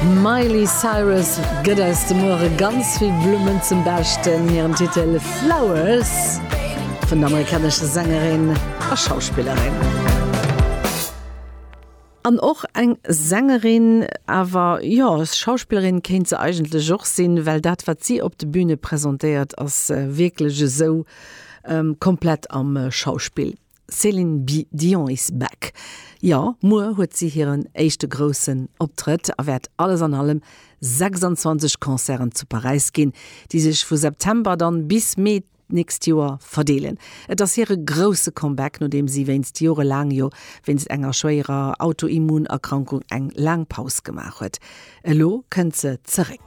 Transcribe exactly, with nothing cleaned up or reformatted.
Miley Cyrus gëtt eis de Muere ganz vill Blummen zum Beschten, hiren Titel Flowers vun der amerikanescher Sängerin a Schauspillerin. An och eng Sängerin, awer jo, Schauspillerin kéint se eigentlech och sinn, well dat wat si op der Bühne presentéiert ass wierklech esou ähm, komplett am äh, Schauspill. Céline Dion is back. Jo, muer huet si hiren éischte groussen Optrëtt a wäert alles an allem sechsanzwanzeg Concerten zu Paräis ginn, déi sech vu September dann bis Mee d'nächst Joer verdeelen. Et ass hire grousse Comeback, nodeem si wéinst jorelaang jo wéinst enger schwéierer Autoimmunerkrankung eng laang Paus gemaach huet. Elo kënnt se zeréck.